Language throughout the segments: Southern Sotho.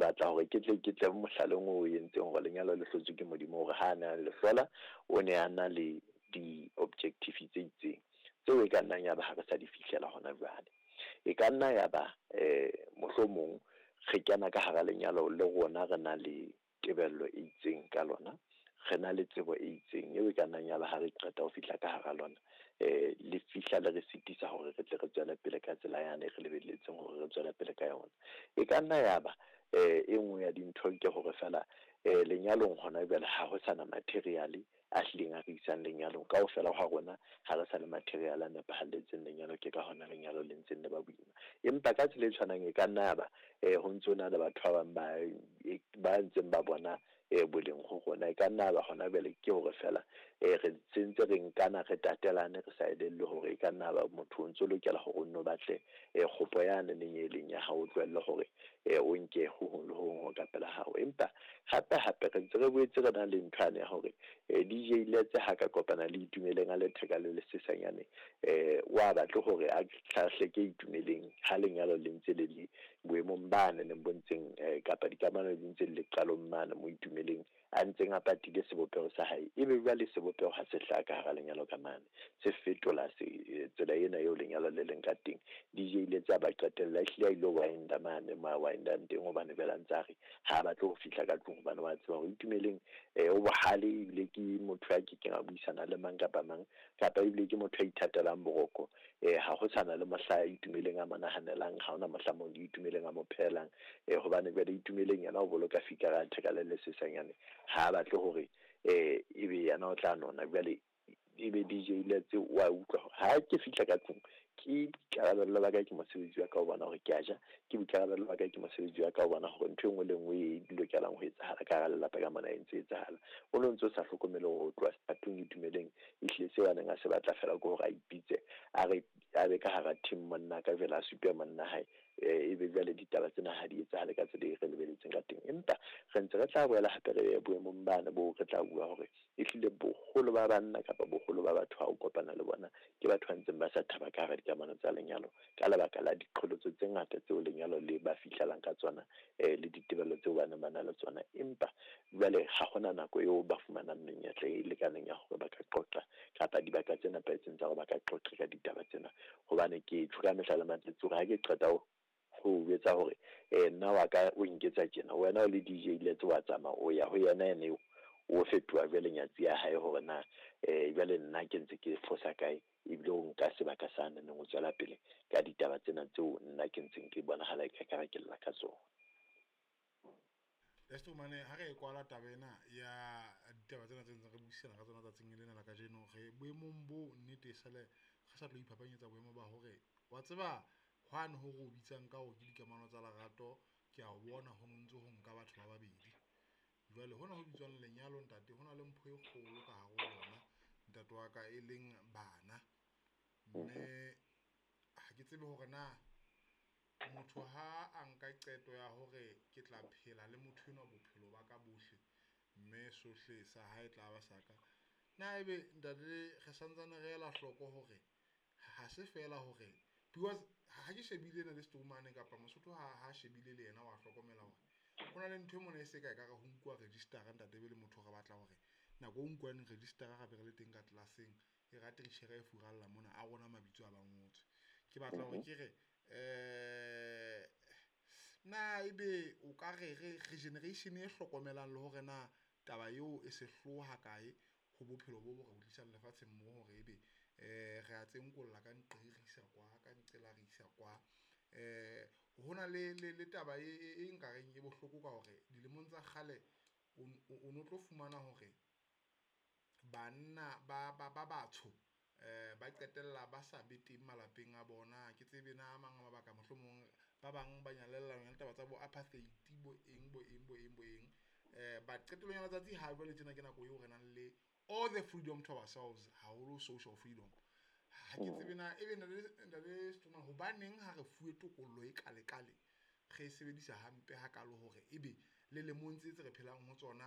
Ke batla hore ke tle mohlaleng o entseng hore lenyalo le hlotswe ke Modimo, hore ha a ne a le hlola o ne a na le di-objective tse itseng tseo e ka nnang ya ba ha re sa di fihlela hona jwale. E ka nna ya ba mohlomong re kena ka hara lenyalo le rona re na le tebello e itseng ka lona, re na le tsebo e itseng eo e ka nnang ya ba ha re qeta ho fihla ka hara lona, le fihla le re sitisa hore re tle re tswele pele ka tsela yane re lebelletseng hore re tswele pele ka yona. E ka nna ya ba e nngwe ya dintho ke hore feela lenyalong hona jwale ha ho sana material a hlileng a re isang lenyalong. Kaofela ha rona ha re sa le material a nepahalletseng lenyalo, ke ka hona lenyalo le ntseng le ba boima. Empa ka tsela e tshwanang e ka nna ya ba ho ntso na le batho ba bang ba ntseng ba bona boleng ho rona. E ka nna ba hona jwale ke hore feela re sentse re nkana, re tatelane, re sa elellwe hore e ka nna ba motho o ntso lokela hore o nno batle kgopo yane neng e leng ya hao, o tlohelle hore o nke ho hong le ho hong ho ka pela hao. Empa hape hape re ntse re boetse re na le ntho yane ya hore DJ Letse ha ka kopana le Itumeleng a letheka le lesesanyane, wa batle hore a hlahle ke Itumeleng ha lenyalo le ntse le le boemong bane neng bo ntseng kapa dikamano di ntse le qalong mane mo Itumeleng a ntseng a patile sebopeho sa hae, ebe jwale sebopeho ha se hlaha ka hara lenyalo ka mane, se fetola tsela ena eo lenyalo le leng ka teng. DJ Letse a ba qetella ehlile a ilo winda mane mo a windang teng, hobane jwale a ntse a re ha a batle ho fihla ka tlung, hobane wa tseba hore Itumeleng o bohale, ebile ke motho a kekeng a buisana le mang kapa mang, kapa ebile ke motho a ithatelang boroko. Ha ho sana le mohla Itumeleng a mo nahanelang, ha hona mohla mo Itumeleng a mo phelang, hobane jwale Itumeleng yena o boloka fikara ya theka le lesesanyane, ha a batle hore ebe yena o tla nona. Jwale ebe DJ Letse wa utlwa hore ha ke fihla ka tlung, ke boikarabello ba ka, ke mosebetsi wa ka ho bona hore ke a ja, ke boikarabello ba ka, ke mosebetsi wa ka ho bona hore ntho e nngwe le nngwe e lokelang ho etsahala ka hara lelapa ka mona e ntse etsahala. O no ntso sa hlokomele hore ho tloha sethatong Itumeleng ehlile seo a neng a se batla feela ke hore a ipitse a re a be ka hara team monna ka jwale a supe monna hae, ebe jwale ditaba tsena ha di etsahale ka tsela e re lebeletseng ka teng. Empa re ntse re tla boela hape re boemong bane boo re tla bua hore ehlile boholo ba banna kapa boholo ba batho ha o kopana le bona ke batho ba ntseng ba sa thaba ka hara dikamano tsa lenyalo ka lebaka la diqholotso tse ngata tseo lenyalo le ba fihlelang ka tsona, le ditebello tseo ba neng ba na le tsona. Empa jwale ha hona nako eo ba fumanang menyetla e lekaneng ya hore ba ka qoqa kapa dibaka tse nepahetseng tsa hore ba ka qoqa ka ditaba tsena, hobane ke tjho ka mehla le matsatsi hore ha ke qeta ho jwetsa hore nna wa ka o nketsa tjena, wena o le DJ Letse wa tsamaya o ya ho yena, ene eo o fetoha jwale nyatsi ya hae hore na jwale nna ke ntse ke fosa kae, ebile o nka sebaka sa neng o tswela pele ka ditaba tsena tseo nna ke ntseng ke bonahala e ka ke lla ka tsona. Lesto mane ha re e kwala taba ena ya ditaba tsena tse ntseng re buisana ka tsona tsatsing lena la kajeno, re boemong bo nnete sale re sa tlo iphapanyetsa boemo ba hore wa tseba hwane ho re o bitsang ka hore ke dikamano tsa lerato, ke a bona ho ntse ho nka batho ba babedi. Jwale hona ho bitswang lenyalo ntate, hona le mpho e kgolo ka hare ho lona ntate wa ka, e leng bana. Mme ha ke tsebe hore na motho ha a nka qeto ya hore ke tla phela le motho enwa bophelo ba ka bohle, mme sohle sa hae tla ba sa ka, na ebe ntate re santsane re ela hloko hore ha se feela hore because ha ke shebile ena le Stromane kapa Mosotho ha shebile le yena wa hlokomela hore ho na le ntho e mona e se ka ekare ho nkuwa register-a ntate, ebe le motho re batla hore nako o nkuwang register-a gape re le teng ka tlelaseng e rate titjhere e furalla mona a rona mabitso a ba ngotswe. Ke batla hore ke re na ebe o ka re re generation e hlokomelang le hore na taba eo e se hloha kae ho bophelo bo bo re tlisang lefatsheng mo hore ebe re a tsenkolla ka nqe re isa kwa ka nqela re isa kwa. Hona le taba e nkareng e bohloko ka hore dilemong tsa kgale o no tlo fumana hore banna ba batsho ba qetella ba sa be teng malapeng a bona. Ke tsebe na a mang a mabaka, mohlomong ba bang ba nyalella yona taba tsa bo apartheid bo eng bo eng bo eng bo eng, but qetellong ya letsatsi ha jwale tjena ke nako eo re nang le all the freedom to ourselves, haholo social freedom. Ha ke tsebe na ebe ntate Stroma hobaneng ha re fuwe tokollo e kale-kale re e sebedisa hampe hakalo hore ebe le lemong tse re phelang ho tsona,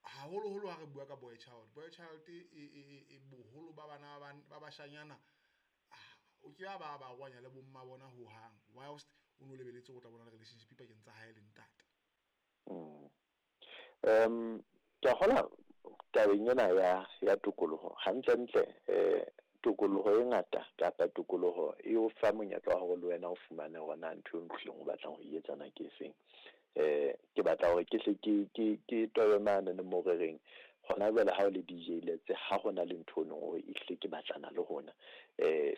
haholoholo ha re bua ka boy child. Boy child e boholo ba bana ba bashanyana o ke ba ba arohanya le bomma bona hohang, whilst o no lebeletse ho tla bona le relationship pakeng tsa hae le ntate. Ke a kgolwa tabeng ena ya tokoloho, hantlentle tokoloho e ngata kapa tokoloho e o fa monyetla wa hore le wena o fumane hore na ntho eo hlileng o batlang ho e etsa na ke efeng. Ke batla hore ke hle ke tobe mane le mo re reng hona jwale ha o le DJ Letse, ha hona le ntho o neng o ehlile ke batlana le hona,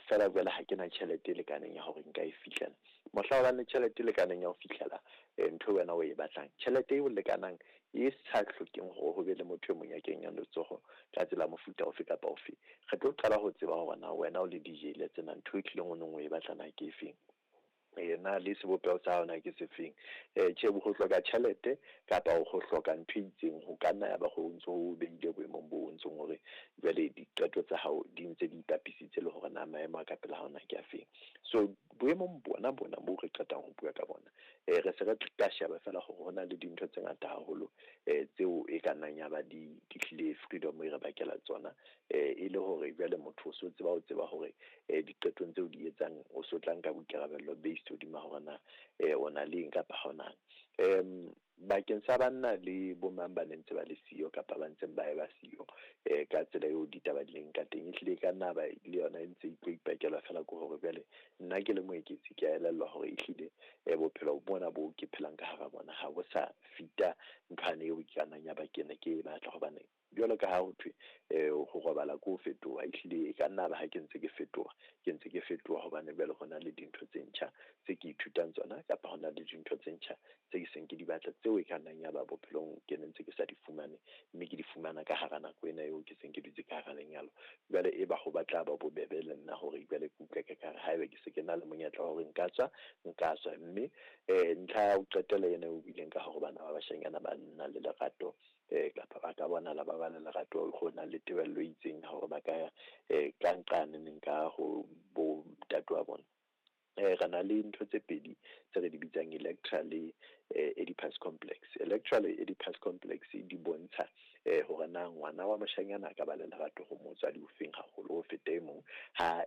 feela jwale ha ke na tjhelete e lekaneng ya hore nka e fihlela. Mohla o bang le tjhelete e lekaneng ya ho fihlela ntho wena o e batlang, tjhelete eo lekanang e sa hlokeng hore ho be le motho e mong ya kenyang letsoho ka tsela mofuta ofe kapa ofe, re tlo qala ho tseba hore na wena o le DJ Letse na ntho e tlileng o neng o e batlana ke efeng, na le sebopeho sa hao na ke sefeng. Tjhe, ho hloka tjhelete kapa ho hloka ntho e itseng ho ka nna ya ba ho ntso ho behile boemong bo ntsong hore jwale diqeto tsa hao di ntse di ipapisitse le hore na maemo a ka pela hao na ke afeng. So boemong bona bo re qetang ho bua ka bona, re se re tla sheba fela hore hona le dintho tse ngata haholo tseo e ka nnang ya ba di hlile freedom e re bakela tsona, e le hore jwale motho o so tseba ho tseba hore diqetong tseo di etsang o so tla nka boikarabello based hodima hore na o na le eng kapa ha o nang. Bakeng sa banna le bomang ba neng ntse ba le siyo kapa ba ntseng ba eba siyo ka tsela eo ditaba di leng ka teng, ehlile e ka nna ba le yona e ntse e tlo ipakelwa fela ke hore jwale nna ke le Moeketsi ke a elellwa hore ehlile bophelo bona bo ke phelang ka hara bona ha bo sa fita nthwane eo ke ka nnang ya ba ke ne ke e batla, hobane jwalo ka ha ho thwe ho robala ke ho fetoha, ehlile e ka nna ba ha ke ntse ke fetoha, ke ntse ke fetoha hobane jwale ho na le dintho tse ntjha tse ke ithutang tsona, kapa ho na le dintho tse ntjha tse ke seng ke di batla tseo e ka nnang ya ba bophelong ke ne ntse ke sa di fumane, mme ke di fumana ka hara nako ena eo ke seng ke dutse ka hara lenyalo. Jwale e ba ho batla ba bobebe le nna hore jwale ke utlwe ka kare haeba ke se ke na le monyetla wa hore nka tswa, mme ntlha ya ho qetela ena o buileng ka hore bana ba bashanyana ba nna le lerato, kapa ba ka bonahala ba ba le lerato, ho na le tebello e itseng ya hore ba ka ya ka nqane ka ho bo ntate wa bona. Re na le ntho tse pedi tse re di bitsang Electra le Oedipus complex. Electra le Oedipus complex di bontsha hore na ngwana wa moshanyana a ka ba le lerato ho motswadi ofeng haholo ho feta e mong. Ha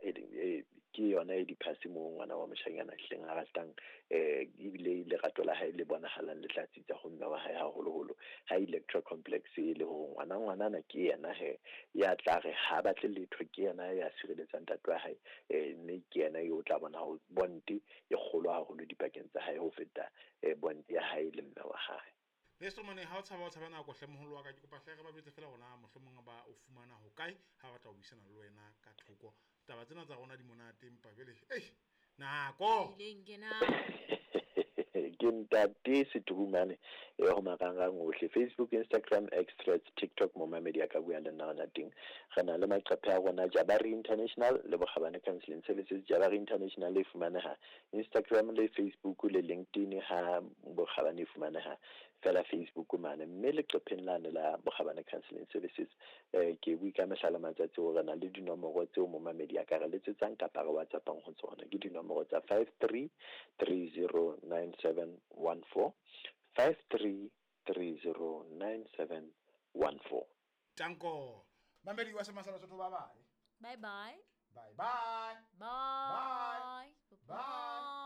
ke yona Oedipus moo ngwana wa moshanyana hleng a ratang, ebile lerato la hae le bonahalang le tla tsitsa ho mme wa hae haholoholo. Ha Electra complex e le hore ngwanana ke yena he ya tla re ha batle letho, ke yena ya sireletsang ntate wa hae, mme ke yena eo tla bona ho bonte e kgolo haholo dipakeng tsa hae ho feta bonte ya hae le mme wa hae. Leso mane ha o tshaba nako hle moholo wa ka, ke kopa hle re ba jwetse fela hore na mohlomong ba o fumana ho kae ha batla ho buisana le wena ka thoko. Taba tsena tsa rona di monate empa jwale nako ileng ke na ke ntate Seturumane ho marangrang ohle, Facebook, Instagram, X, Threads, TikTok, momamedi a ka bua le nna hona teng. Re na le maqephe a rona Jabari International le Bokgabane Counseling Services. Jabari International e fumaneha Instagram le Facebook le LinkedIn, ha Bokgabane e fumaneha fela Facebook mane, mme leqepheng lane la Bokgabane Counseling Services ke bui ka mehla le matsatsi hore na le dinomoro tseo momamedi a ka re letsetsang kapa re WhatsAppang ho tsona. Ke dinomoro tsa 53309714, 53309714. Tanko mamedi wa Semasala Sotho, bye bye. Bye bye. Bye bye. Bye. Bye. Bye.